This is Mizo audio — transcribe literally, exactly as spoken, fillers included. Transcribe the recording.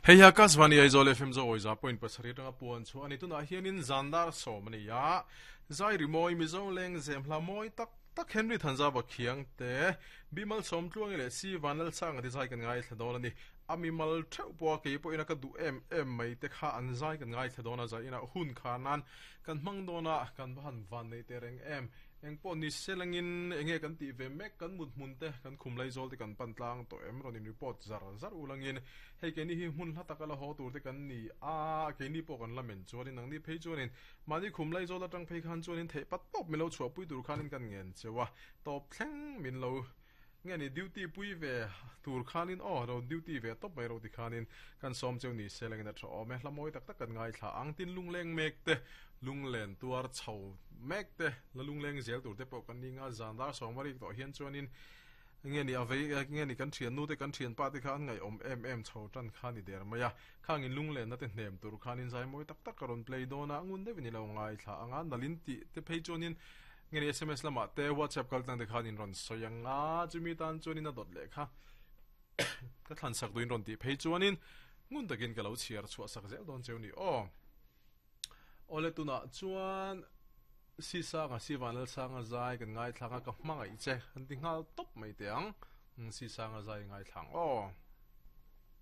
Hei hi Akashvani Aizawl F M Zo za point pasarih atanga puan chu ani. Tunah hianin zandar sawm ani a, zai rimawi Mizo leng zem hla mawi tak tak Henry Thanzava khiang te Bimal Sawmtluangi leh Si Vanlal Sanga te zai kan ngai thla dawn ani. Amimal theuh pawh ke pawh ina ka du em em mai te kha an zai kan ngai thla dawn a, zai ina hun khanan kan hmang dawn a, kan han van nei te reng em engpawh ni selangin enge kan ti ve mek kan mut hmun te kan khum lai zawl te kan pan tlang to em rawn in report zar zar ulangin hei ke ni hi hmun hla taka la ho tur te kan ni a, ke ni pawh kan lamen chuanin nang ni phei chuanin mani khum lai zawl atang phei khan chuanin thei pat top milo chhuah pui tur khanin kan ngen chewa top thleng min lo nge ni duty pui ve tur khanin aw ro duty ve top mai ro ti khanin kan som cheu ni selangin a tha awm e. Hla mawi tak tak kan ngai thla ang tin lungleng mek te lunglen tuar chho mek te la lungleng zel tur te pawh kan ni nga zandar sawmari to hian chuanin nge ni avei nge ni kan thian nu te kan thian pa te kha an ngai om em em chho tan kha ni der maya khangin lunglen na te hnem tur khanin zai mawi tak tak ka rawn play dona ngun de ni lo ngai thla anga nalin ti te phei chuanin nge ni S M S lama te WhatsApp kal tang te khanin rawn soyanga chumi tan chuanin a dot le kha ka thlan sak duin rawn ti phei chuanin ngun takin ka lo chhiar chhuah sak zel dawn cheu ni aw. Ole tuna chuan si sanga si vanal sanga zai kan ngai thlanga ka hmangai che an ti ngal top mai te ang si sanga zai ngai thlang aw.